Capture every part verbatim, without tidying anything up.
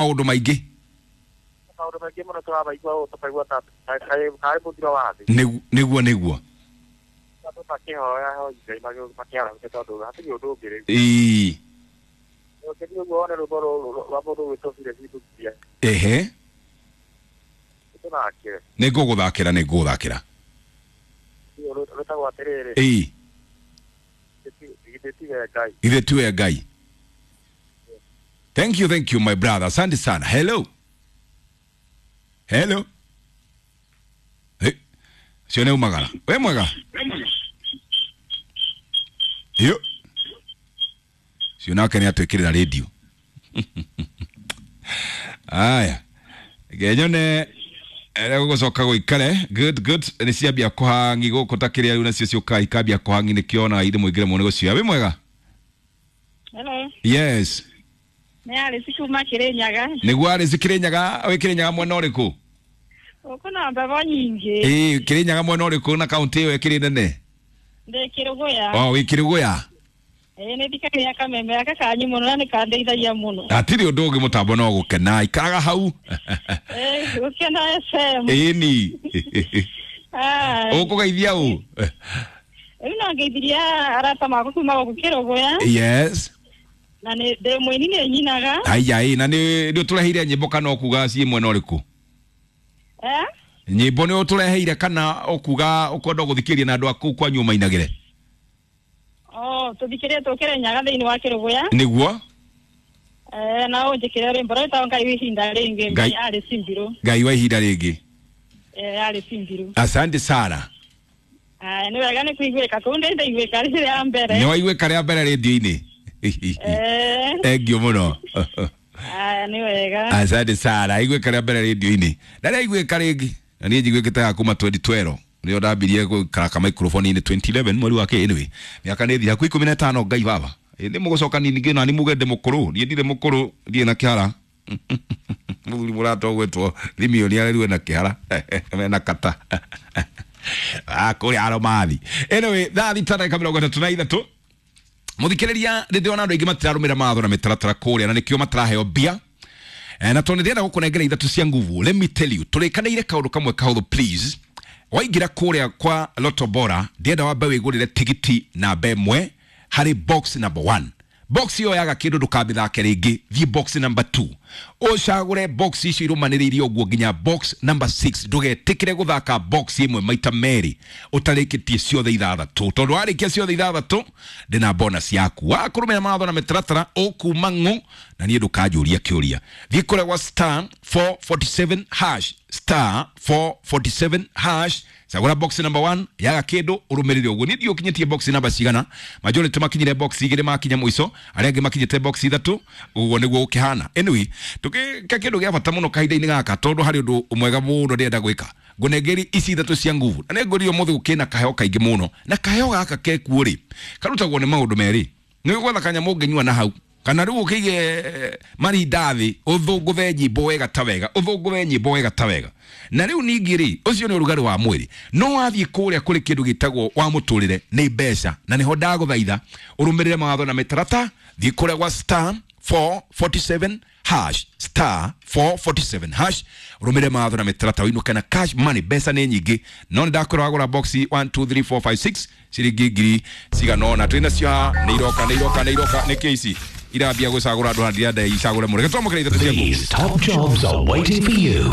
Maũndũ maingĩ. Maũndũ maingĩ mũno tũrabaigua ũũ tũkaigua ta karĩ mũthiro wa thĩ. Nĩgu- nĩguo nĩguo. Andũ makĩhoya hoi Ngai makĩarahũke tondũ hatirĩ ũndũ ũngĩ rĩu. Ĩĩ. Ũkĩthiĩ ũguo wone rwĩmbo rũrũ rwa mũndũ ũgwĩtwo Philip Mbuthia. Ehe. Tũthakĩre. Nĩ ngũgũthakĩra, nĩ ngũgũthakĩra. Rwĩtagwo atĩrĩrĩ. Ĩĩ. Githĩ tiwe Ngai. Githĩ tiwe Ngai. Thank you, thank you, my brother. Asante sana. Hello. Hello. Hey. Cio nĩ umagara. We mwega. Yo. Cio nake nĩ atwĩkĩrĩra radio. Aya. Ngenyone gũgũcoka gũikare. Good, good. Nĩ ciambia kũhangi gũkũ ta kĩrĩa rĩu nacio ciũkaga ikambia kũhangi nĩkĩo ithe mũingĩre mũno gũcioya. Wĩ mwega? Hello. Yes. Nĩ Alice kuma Kĩrĩnyaga. Nĩguo Alice Kĩrĩnyaga, wĩ Kĩrĩnyaga mwena ũrĩkũ? Gũkũ na mbebo nyingĩ. Ĩĩ, Kĩrĩnyaga mwena ũrĩkũ na kaunti ĩyo ĩkĩrĩ nene? Ndĩ Kĩrũgũya. Oh, wĩ Kĩrũgũya. Ĩĩ, nĩ thikagĩrĩria kameme gaka kanyu mũno na nĩ kandeithagia mũno. Hatirĩ ũndũ ũngĩ mũtambo no gũkena ikaraga hau. Ĩĩ, gũkena F M. Ĩni. Ai. Ũkũgeithia ũ? Rĩu no ngeithirie arata makwa kuma gũkũ Kĩrũgũya. Yes. Na nĩ ndĩ mũini nĩ nyinaga. Aya ĩ, na nĩ nĩ ũtũreheire nyĩmbo kana ũkuga ciĩ mwena ũrĩkũ? Eh? Nyĩmbo nĩ ũtũreheire kana ũkuga ũkwenda gũthikĩrĩria na andũ a kũu kwanyu mainagĩre? Oh, tũthikĩrĩrie tũkĩre Nyaga thĩinĩ wa Kĩrũgũya. Nĩguo? Eh, na ũnjĩkĩre rwĩmbo rwĩtagwo Ngai wa ihinda rĩngĩ. Ngai. Ngai Alice Mbirũ. Ngai wa ihinda rĩngĩ. Eh, Alice Mbirũ. Asante sana. Aya, nĩ wega nĩ kũiguĩka kũu ndĩ ndaiguĩka rĩ rĩa mbere. Nĩ waiguĩka rĩa mbere rĩndiũ-inĩ. Eh. Thank you mũno. Aya, nĩ wega. Asante sana. Aiguĩka rĩa mbere rĩndiũ-inĩ. Na rĩaiguĩka rĩngĩ. Na niĩ njiguĩkĩte ya kuma twenty twelve. Nĩo ndambirie gũikara ka microphone-inĩ twenty eleven mweri wa kĩ anyway. Mĩaka nĩ ĩthira hakuhĩ ikũmi na ĩtano Ngai baba. Ĩ, nĩ mũgũcoka nini ngĩ nani muge ndĩ mũkũrũ. Niĩ ndirĩ mũkũrũ, ndirĩ na kĩhara. Mũthuri mũrata ũgwĩtwo Thimioni arerirwe na kĩhara. Mena kata. Ah, kũrĩa Aromathi. Anyway, thaa thita ndagĩka mĩrongo ĩtatũ na ithatũ. Mũthikĩrĩria, nĩ ndĩrona andũ aingĩ matirarũmĩrĩra mawatho na mĩtaratara kũrĩa na nĩkĩo matiraheo mbia. Eh, na tondũ ndĩrenda gũkũnengera ithatũ cia nguvu, let me tell you, tũrĩkanĩire kaũndũ kamwe kahũthũ please. Waingĩra kũrĩa kwa Lotto Bora, ndĩrenda wambe wĩgũrĩre tigiti namba ĩmwe harĩ box number one. Box ĩyo yaga kĩndũ ndũkamĩthake rĩngĩ, thiĩ box number two. Ũcagũre box icio irũmanĩrĩirie ũguo nginya box number six. Ndũgetĩkĩre gũthaka box ĩmwe maita merĩ ũtarĩkĩtie ciothe ithathatũ, tondũ warĩkia ciothe ithathatũ ndĩna bonus yaku. Wakũrũmĩrĩra mawatho na mĩtaratara ũkuma ng'ũ na niĩ ndũkanjũria kĩũria. Thiĩ kũrĩa gwa star four forty-seven hash, star four forty-seven hash, cagũra box number one, yaga kĩndũ ũrũmĩrĩre ũguo. Niĩ ndiũĩ ũkinyĩtie box number cigana, majority makinyire box igĩrĩ makinya mũico, arĩa angĩ makinyĩte box ithatũ, ũguo nĩguo gũkĩhana. Anyway, tũgĩka kĩndũ gĩa bata mũno kahinda-inĩ gaka tondũ harĩ ũndũ mwega mũno ndĩrenda gwĩka. Ngũnengeri ici ithatũ cia nguvu. Na nĩngũrire ũmũthĩ gũkĩna kaheo kaingĩ mũno. Na kaheo gaka kekuo rĩ, karutagwo nĩ maũndũ merĩ. Nĩ gwetha kanyamũ ũngĩnyua na hau. Kana rĩu ũkĩige marinda thĩ, ũthũngũthe nyĩmbo wega ta wega, ũthũngũthe nyĩmbo wega ta wega. Na rĩu ningĩ rĩ, ũcio nĩ ũrugarĩ wa mwĩrĩ. No wathiĩ kũrĩa kũrĩ kĩndũ gĩtagwo wa mũtũrĩre nĩ mbeca. Na nĩho ndagũthaitha ũrũmĩrĩre mawatho na mĩtaratara, thiĩ kũrĩa gwa star four forty-seven hash, star four forty-seven hash, ũrũmĩrĩre mawatho na mĩtaratara ũinũke na cash money. Mbeca nĩ nyingĩ, no nĩ ndakwĩra wagũra box one two three four five six ciringi ngiri cigana ũna. Twĩ nacio haha, nĩ iroka, nĩ iroka, nĩ iroka. Nĩ kĩ ici irambia gũcagũra andũ haha, ndirenda icagũre mũno. Reke twamũkĩre ithatũ cia nguvu. These top jobs are waiting for you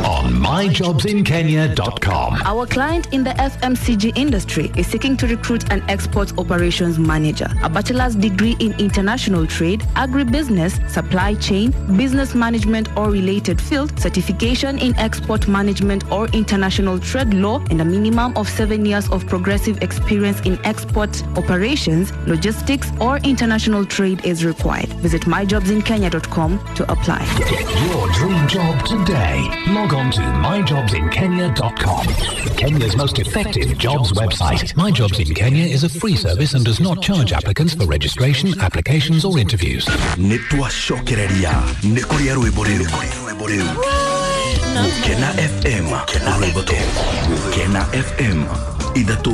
on my jobs in kenya dot com. Our client in the F M C G industry is seeking to recruit an export operations manager, a bachelor's degree in international trade, agribusiness, supply chain, business management or related field, certification in export management or international trade law, and a minimum of seven years of progressive experience in export operations, logistics, or international trade is required. Visit my jobs in kenya dot com to apply. Get your dream job today. Log on to my jobs in kenya dot com. Kenya's most effective jobs website. My Jobs in Kenya is a free service and does not charge applicants for registration, applications or interviews. Nĩ twacokereria nĩ kũrĩa rwĩmbo rĩu. Gũkena F M, rwĩmbo tũ. Gũkena F M, ithatũ